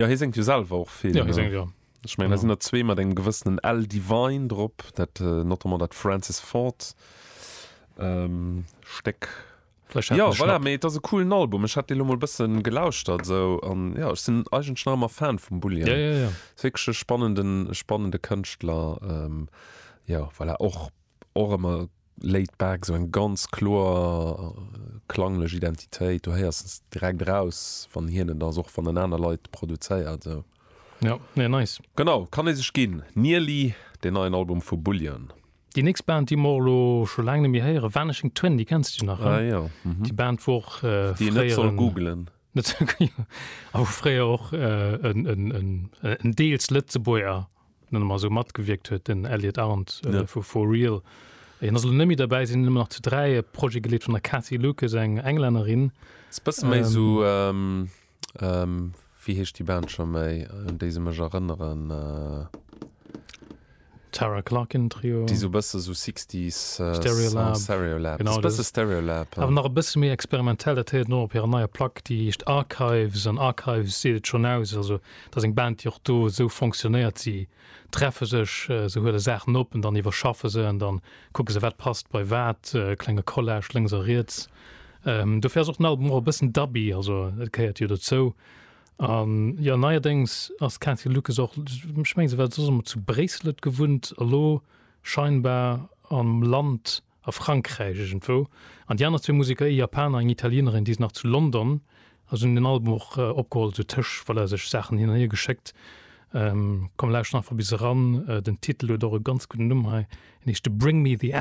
Jo, hie séngt jo selwer och vill. Jo, hie séngt, jo. Ech mengen, da sinn der zwee mat engem gewëssenen Al Devine drop, dat notamment dat Francis Ford Stéck. Vläicht hat Jo, en e voilà, Schnapp. mee et ass e coolen Album. Ech hat dee lo mol bëssen gelauschtert esou an jo, ech sinn eigentlech nach ëmmer Fan vum Bullion. Ja, ja, ja. Ass wierklech e spannenden, e spannende Kënschtler. Jo, voilà, och, och ëmmer laid back, esou eng ganz kloer klanglech Identitéit. Du héiers es direkt eraus, wann hien et ass, och wann en aner Leit produzéiert esou. Ja, nee, nice. Genau, kann ee sech ginn. Nearly, deen neien Album vu Bullion. Déi nächst Band, déi mer och elo scho laang net méi héieren, Vanishing Twin, déi kenns du nach, he? Ah jo, mhm. Déi Band, wou och Déi een net soll fréier en. googelen. Net, jo, a wou fréier och en, en, en, en deels Lëtzebuerger, nenne mer esou, matgewierkt huet, den Elliot Arndt vu For Real. Hien ass elo net méi derbäi, si sinn nëmmen nach zu 3, e Projet geleet vun der Cathy Lucas, eng Englännerin. Ass bësse méi esou, Wéi heescht déi Band scho méi, un déi se mech erënneren? Tara Clarkin Trio. Déi sou bësse sou Sixties Stereolab. Stereolab. Genau, dat ass bësse Stereolab. Awer nach e bësse méi experimentell. Dat héiert een och op hirer neier Plack, déi heescht Archives. An Archives seet et schonn aus. Also dat ass eng Band, déi och do esou fonctionnéiert. Si treffe sech, se huele Saachen op an dann iwwerschaffe se an dann kucke se, wat passt bei wat, klenge Collage lénks a riets. Dofir ass och den Album och e bëssen dubby, also dat gehéiert jo dozou. An jo, neierdéngs ass d'Cathy Lucas och, ech mengen se war soss ëmmer zu Bréissel, huet gewunnt, elo scheinbar am Land a Frankräich iergendwou. An déi aner zwee Museker, ee Japaner, eng Italienerin, déi sinn nach zu London a se hunn den Album och opgeholl, sou tëscht, voilà, sech Saachen hin an hier geschéckt. Komm lauschten einfach bis eran, den Titel huet och e ganz gudden Numm hei, en heescht Bring Me The.